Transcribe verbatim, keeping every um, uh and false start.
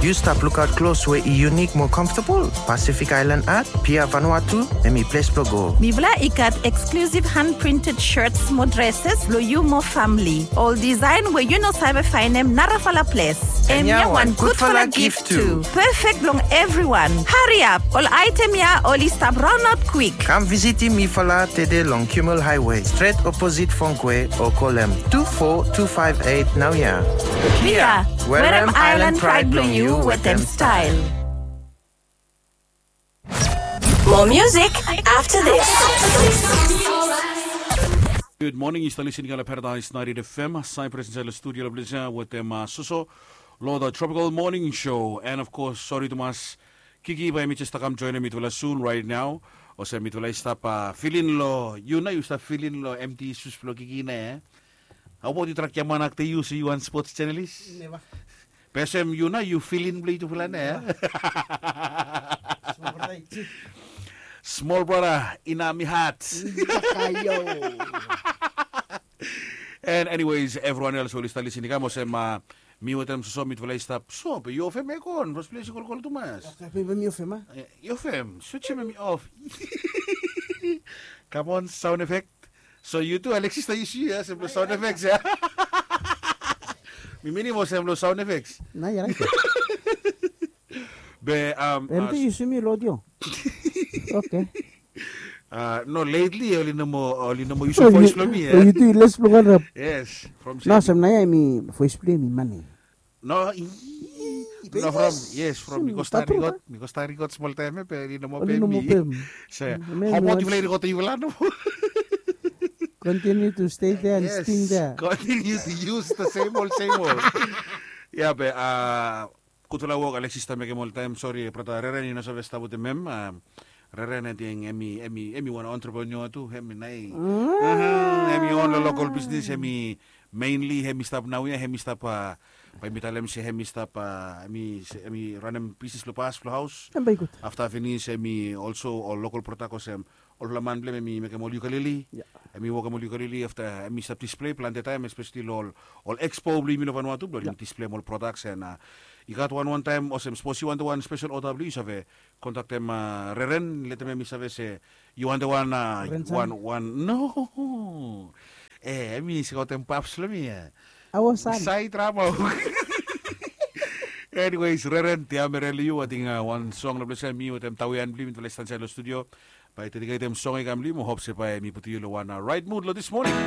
Yu stap lukaot klos we i yunik mo comfortable? Pacific Island Art, Pia Vanuatu, hemi ples blo go. Mifala i gat exclusive hand printed shirts mo dresses blo yu mo famili. Ol design we yu no save faenem narafala ples. Hemia wan gudfala gift tu. Perfect blong everyone. Hariap, ol item ya oli stap raonaot kwik. Kam visitim mifala tede long Kimmel Highway, stret oposit Fongkwe, o kolem tu fo tu faef eit naoia. Pia, werem island pride blong yu wetem style. More music after this. Gud moning, yu stap listening long Paradise ninety-eight F M, Cyprus insaed long studio long ples ya wetem Soso long the Tropical Morning Show. And of course, sori tumas, Kiki bae hemi jes stap kam joenem mitufala soon right now. Olsem mitufala i stap fill in long, yu nao yu stap fill in long empty shoes blong Kiki nao, e? How about yu trak giaman akte yu se yu wan sports journalist? Neva. Be olsem yu nao yu fill in blong yutufala nao, e? Small brother in army hat. And anyways, evriwan els we oli stap listening, kam olsem mi wetem Soso mitufala i stap so, be yu of hemia kon, fas ples i kolkol tumas. Be mi of hemia. Yu of hem, switch hemia of. Come on, sound effect. So yu tu Alexis, nao yu si ya, olsem blong sound effects ya. Mi minim olsem blong sound effects. Nao yu rait. Be um, be mi tu yu si mi long audio. Okay. No, lately oli no moa, oli no moa yusum voes blong mi ya. Yu tu yu les blong harap. Yes, from nao olsem nao ya hemi voes blong yu hemi mane. No, i- no, from, yes, from mi go start record, mi go start record smol taem ya, be oli no moa pem mi. Se, how about yufala i record yufala nomo? Continue to stay there and sting there. Continue to use the same old, same old. Ya, be gudfala wok Alexis i stap mekem oltaem. Sori, brata Reren i no save stap wetem hem. Reren, ating hemi, hemi wan entrepreneur tu, hemi nao i, hemi own long local business, hemi mainly hemi stap naoia, hemi stap, bae mi talem se hemi stap, hemi ranem business long pas blong haos. Afta finis hemi also ol local product olsem olfala man blong hem hemi mekem ol ukulele. Hemi wokem ol ukulele, afta hemi stap display plante taem, especially long ol expo blong yumi long Vanuatu blong oli displeim ol products. And i gat wan wan taem olsem sapos yu wantem wan spesel oda blong yu, yu save kontaktem Reren, letem hemi save se yu wantem wan, wan, wan, no. E, hemi se gotem paps long mi ya. Sai trabou. Anyways, Reren, te amere long yu, ating wan song long ples ya, mi wetem Tawian blong yumi mitufala i stap insaed long studio. Bae mi dediketem song ya i kam long yu, mo hop se bae mi putum yu long wan right mood long this morning.